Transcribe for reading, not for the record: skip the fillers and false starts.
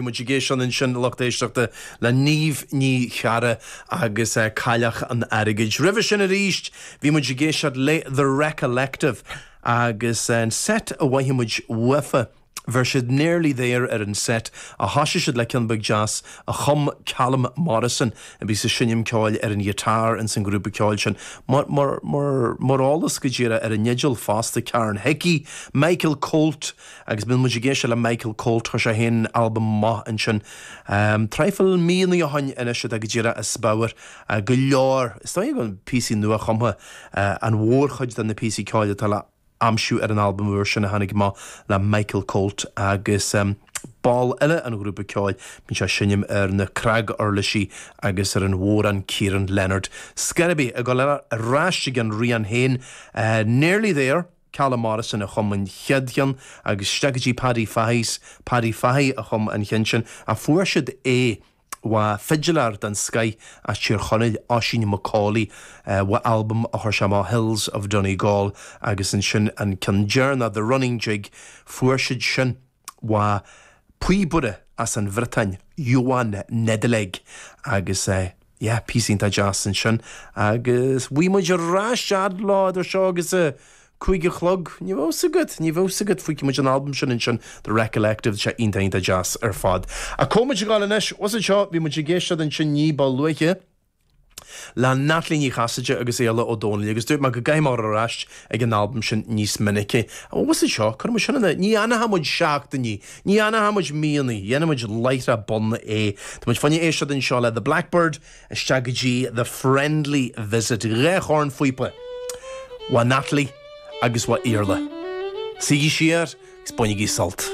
Bhí muid ag éisteacht ansin, a lucht éisteachta, le Niamh Ní Charra agus Cailleach an Airgid. Roimhe sin arís, bhí muid ag éisteacht le The Recollective agus an set a mhaífidh muid uafa, bheir siad Nearly There ar an set ach thoisigh siad le ceann beag deas a chum Callum Morrison a bhíos ag seinm ceoil ar an ghiotár ins an ghrúpa ceoil sin. Mar, mar, mar, mar eolas go díreach ar an nDeideal fosta, Carn Hickey, Michael Colt, Agus bíonn muid ag éisteacht le Michael Colt, chuir sé féin albam amach ansin traidhfil míonna ó shoin anois atá go díreach as beabhar go leor, is dóigh go píosaí nua-chumtha, an mhórchuid de na píosaí ceoil atá le aimsiú ar an albam úr sin a tháinig amach le Michael Colt agus ball eile an ghrúpa ceoil, bíonn sé ag seinm ar na cnaguirlisí agus ar an bhodhrán Ciaran Leonard. Scor ar bith, ag dul ar ais ag an rian féin, Nearly There. Callum Morrison a chum an chéad cheann agus isteach go dtí Paddy Fahy's, Paddy Fahy a chum an cheann sin ach fuair siad é ó fidiléir den scoith as Tír Chonaill, Oisín McCauley, ó albam a chuir sé amach Hills of Donegal agus ansin an ceann deireanach The Running Jig, fuair siad sin. ó phíobaire as an Bhriotáin, Yoann Nedeleg, agus yeah, píosa iontach deas ansin. Agus bhí muid ar ais fhad leo idir seo agus a 5 a chlog, ní bheadh 's agat, ní bheadh 's agat, feicfidh muid an albam sin ansin, The Recollective, tá sé iontach iontach deas ar fad. Ach cá muid ag gabháil anois, what's it seo, bhí muid ag éisteacht ansin ní ba luaithe, le Natalie Ní Chasaide agus Iarla Ó Dónaill agus dúirt mé go gcaithfidh mé dul ar ais ag an albam sin níos minice. Ó, what's it seo? Cuirfidh muid sin ina, ní fhanfaidh muid seachtainí, ní fhanfaidh muid míonna, dhéanfaidh muid láithreach bonn é. Tá muid fá choinne éisteacht anseo le The Blackbird isteach go dtí The Friendly Visit, 2 chornphíopa ó Natalie agus ó Iarla. Suígí siar agus bainigí sult.